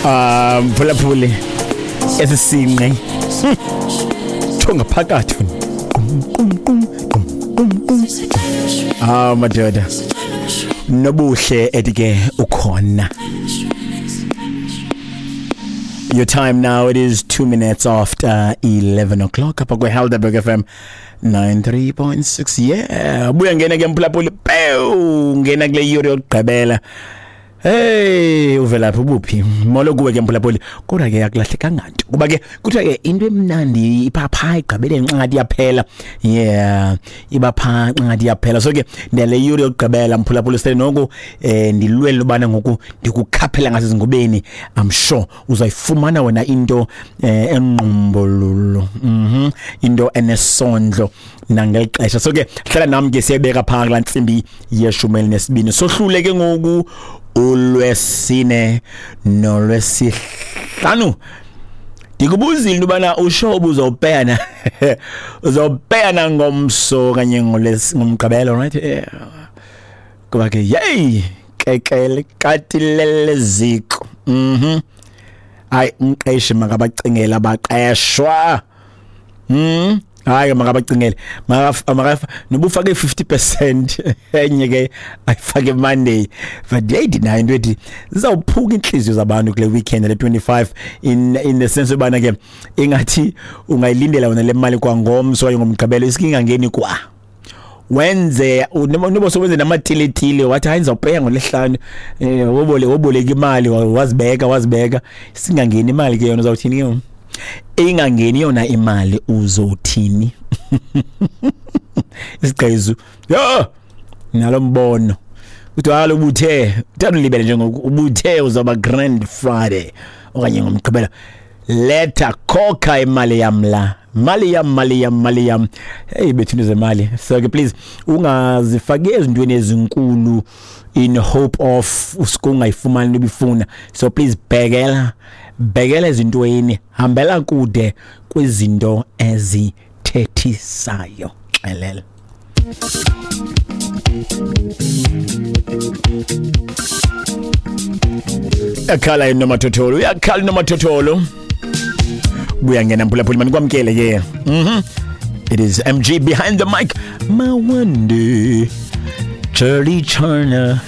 Mphulaphuli, esi sinqe tsho ngaphakathi qum qum qum qum qum qum. Ah, madoda, nobuhle ethi ke ukhona. Your time now, it is 2 minutes after 11 o'clock apha kwe-Helderberg FM 93.6. Yeah, buya ngena ke mphulaphuli, pew, ngena kule yure yokugqibela. Hey, uvelaphi, ubuphi? Molo kuwe ke mphulaphuli. Kodwa ke akulahlekanga nto. Kuba ke kuthiwa ke into emnandi ipha igqibele nxa yaphela. Yeah, iba pha nxa yaphela. So ke ndale yure yokugqibela mphulaphuli sele noku ndilwele ubana ngoku ndikukhaphela ngasezingubeni. I'm sure uzayifumana wena into engqumbululu. Into enesondlo nangelixesha. So ke hlala nami ke, siyabeka pha kulaa ntsimbi ye-12. Sohlule ke ngoku ulwesine nolwesihlanu. Ndikubuzile into yobana usho ubuzawupeyana, uzawupeyana ngomso kanye ngomgqibelo, right? Yeah. Kuba ke yeyi kekele katilele ziko. Hayi, umqeshi makabacingele abaqeshwa. Hayi, makabacingele, makaf noba ufake 50%, enye ke ayifake Monday. But hey, ndinayo into ethi zizawuphuka inhliziyo zabantu kule weekend le 25, in the sense yobana ke ingathi ungayilindela wena le mali kwangomso okanye ngomgqibelo, isike ingangeni kwa wenze noba sowenze namatiletile, wathi hayi, ndizawupeya ngolesihlanu, wobole woboleka imali, wazibeka wazibeka, singangeni imali ke yona, uzawuthini ke ngoku? Ingangeni yona imali, uzothini? Isigqizu yo nalo mbono uthi kaloku ubuthe uthanda ulibele njengoku ubuthe uzawuba Grand Friday okanye ngomgqibelo, letha khokha imali yam la, mali yam, mali yam, mali yam. Hey bethu, into zemali. So ke please ungazifaki ezintweni ezinkulu in hope of usuke ungayifumani into obifuna. So please bhekela, bhekela ezintweni, hambela kude kwizinto ezithethisayo. Xelela yakhala inomathotholo, uyakhala inomathotholo, buya ngena mphulaphuli, manikwamkele ke. It is MG behind the mic. Mawande Charlie China.